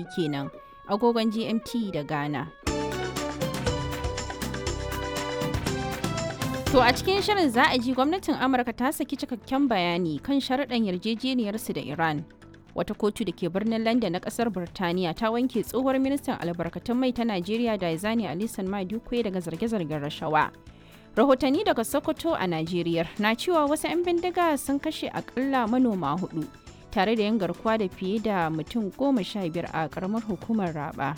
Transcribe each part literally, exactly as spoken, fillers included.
Kenan agogon G M T da Ghana. To a cikin shirin za a ji gwamnatin Amurka ta saki cikakken bayani kan sharuɗan yarjejeniyarsu da Iran. Wata kotu da ke birnin London na ƙasar Birtaniya ta wanke tsohuwar ministan albarkatun mai ta Najeriya Diezani Alison Madueke daga zarge-zargen rashawa. Rahotanni daga Sokoto a Najeriya na cewa wasu 'yan bindiga sun kashe akalla manoma hudu tare da yin garkuwa da fiye da mutum goma sha biyar a karamar hukumar Raba.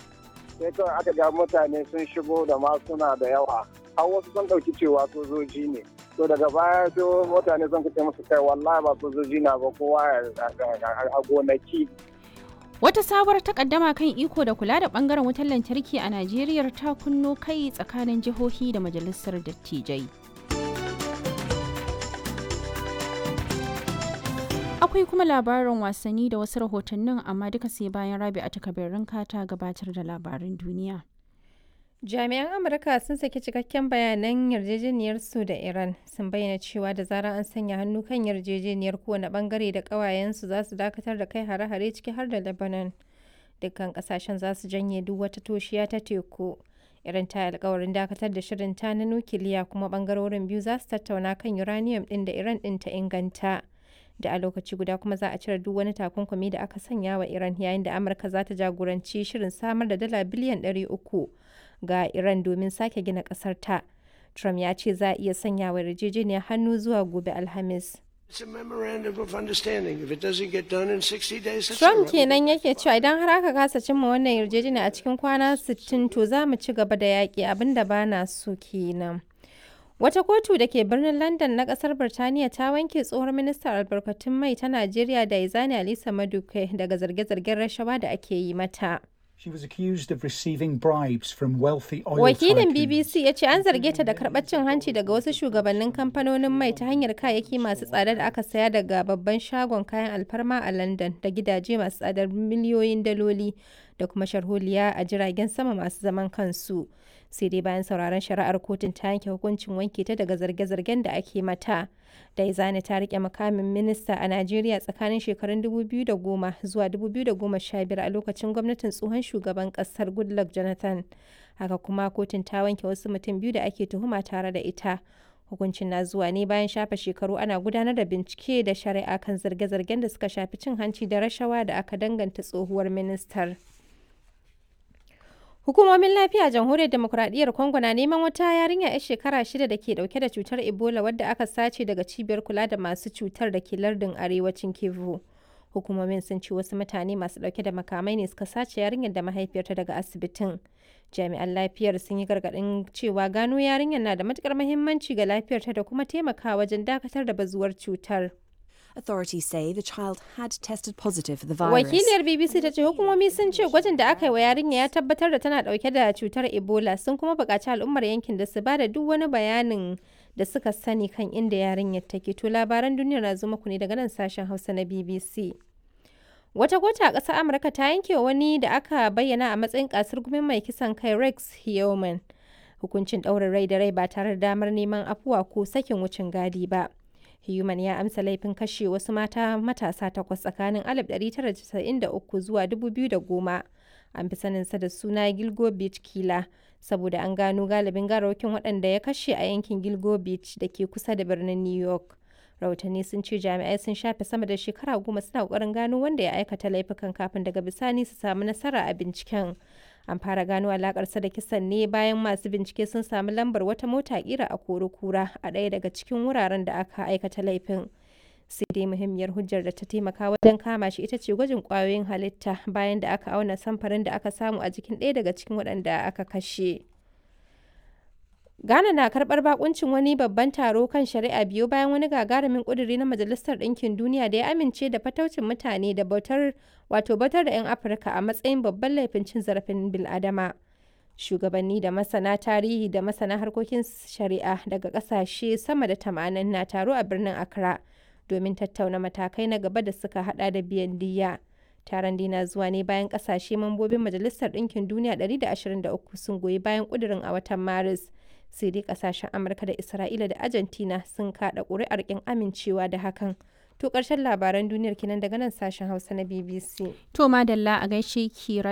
Sai kawai aka ga mutane sun shigo da masuna da yawa, har wasu sun ɗauki cewa sojoji ne. To daga baya sai mutane sun kace musu, kai, wallahi ba sojoji na ba, kowa a gonaki. Wata sabuwar takaddama kan iko da kula da bangaren wutar lantarki a Najeriya ta kunno kai tsakanin jihohi da majalisar dattijai. Akwai kuma labarin wasanni da wasu rahotannin, amma duka sai bayan Rabi a takabirin ta gabatar da labarin duniya. Jami'an Amurka sun saki cikakken bayanan yarjejeniyarsu da Iran, sun bayyana cewa da zarar an sanya hannu kan yarjejeniyar, kowane bangare da ƙawayensu za su dakatar da kai hare-hare, ciki har da Lebanon. Dukkan ƙasashen za su janye duk wata toshiya ta teku. Iran ta yi alkawarin dakatar da shirin ta na nukiliya, kuma bangarorin biyu za su tattauna kan uranium ɗin da Iran ɗin ta inganta. Da a lokaci guda kuma za a cire duk wani takunkumi da aka sanya wa Iran, yayin da Amurka za ta jagoranci shirin samar da dala biliyan ɗari uku ga Iran domin sake gina kasar ta. Trump ya ce za a iya sanya wa yarjejeniyar hannu zuwa gobe Alhamis. Trump kenan yake cewa idan har aka kasa cimma wannan yarjejeniya a cikin kwana sittin, to za mu ci gaba da yaƙi, abinda ba na so kenan. Wata kotu da ke birnin London na kasar Birtaniya ta wanke tsohon ministan albarkatun mai ta Najeriya Diezani Alisa Maduke daga zarge-zargen rashawa da ake yi mata. She was accused of receiving bribes from wealthy oil Wakilin tycoons. B B C ya ce an zarge ta da karɓar cin hanci daga wasu shugabannin kamfanonin mai ta hanyar kayayyaki masu tsada da aka saya daga babban shagon kayan alfarma a London, da gidaje masu tsadar miliyoyin daloli, da kuma sharholiya a jiragen sama masu zaman kansu. Sai dai bayan sauraron shari'ar, kotun ta yanke hukuncin wanke ta daga zarge-zargen da ake mata. Daizani ta rike mukamin minista a Najeriya tsakanin shekarun dubu biyu da goma zuwa dubu biyu da goma sha biyar a lokacin gwamnatin tsohon shugaban kasar Goodluck Jonathan. Haka kuma kotun ta wanke wasu mutum biyu da ake tuhuma tare da ita. Hukuncin na zuwa ne bayan shafe shekaru ana gudanar da bincike da shari'a kan zarge-zargen da suka shafi cin hanci da rashawa da aka danganta tsohuwar ministar. Hukumomin lafiya a Jamhuriyar Demokuraɗiyyar Congo na neman wata yarinya 'yar shekara shida da ke dauke da cutar Ebola wadda aka sace daga cibiyar kula da masu cutar da ke lardin arewacin Kivu. Hukumomin sun ce wasu mutane masu dauke da makamai ne suka sace yarinyar da mahaifiyarta daga asibitin. Jami'an lafiyar sun yi gargaɗin cewa gano yarinyar na da matukar muhimmanci ga lafiyarta da kuma taimakawa wajen dakatar da bazuwar cutar. Authorities say the child had tested positive for the virus. Wakiliyar B B C ta ce hukumomi sun ce gwajin da aka yi wa yarinya ya tabbatar da tana dauke da cutar Ebola, sun kuma buƙaci al'ummar yankin da su ba da duk wani bayanin da suka sani kan inda yarinyar take. To labaran duniyar na zo muku ne daga nan sashen Hausa na B B C. Wata kotu a ƙasar Amurka ta yanke wa wani da aka bayyana a matsayin kasar gumin mai kisan kai Rex Heoman hukuncin ɗaurin rai da rai ba tare da damar neman afuwa ko sakin wucin gadi ba. Human ya amsa laifin kashe wasu mata matasa takwas tsakanin alif ɗari tara da casa'in da uku zuwa dubu biyu da goma. An fi saninsa da suna Gilgo Beach Killer saboda an gano galibin garawakin waɗanda ya kashe a yankin Gilgo Beach da ke kusa da birnin New York. Rahotanni sun ce jami'ai sun shafe sama da shekara goma suna ƙoƙarin gano wanda ya aikata laifukan kafin daga bisani su samu nasara a binciken. An fara gano alakarsa da kisan ne bayan masu bincike sun samu lambar wata mota kira a kura a ɗaya daga cikin wuraren da aka aikata laifin. Sai dai muhimmiyar hujjar da ta taimaka wajen kama shi ita ce gwajin kwayoyin halitta bayan da aka auna samfarin da aka samu a jikin ɗaya daga cikin waɗanda aka kashe. Ghana na karɓar bakuncin wani babban taro kan shari'a biyu bayan wani gagarumin ƙuduri na Majalisar Ɗinkin Duniya da ya amince da fataucin mutane da bautar wato bautar da 'yan Afirka a matsayin babban laifin cin zarafin bil'adama. Shugabanni da masana tarihi da masana harkokin shari'a daga ƙasashe sama da tamanin na taro a birnin Accra domin tattauna matakai na gaba da suka hada da biyan diyya. Taron dai na zuwa ne bayan ƙasashe mambobin Majalisar Ɗinkin Duniya ɗari da ashirin da uku sun goyi bayan ƙudurin a watan Maris. Sai dai kasashen Amurka da Isra'ila da Argentina sun kada ƙuri'ar ƙin amincewa da hakan. To ƙarshen labaran duniyar kenan daga nan sashen Hausa na B B C. To madalla, a gaishe ki.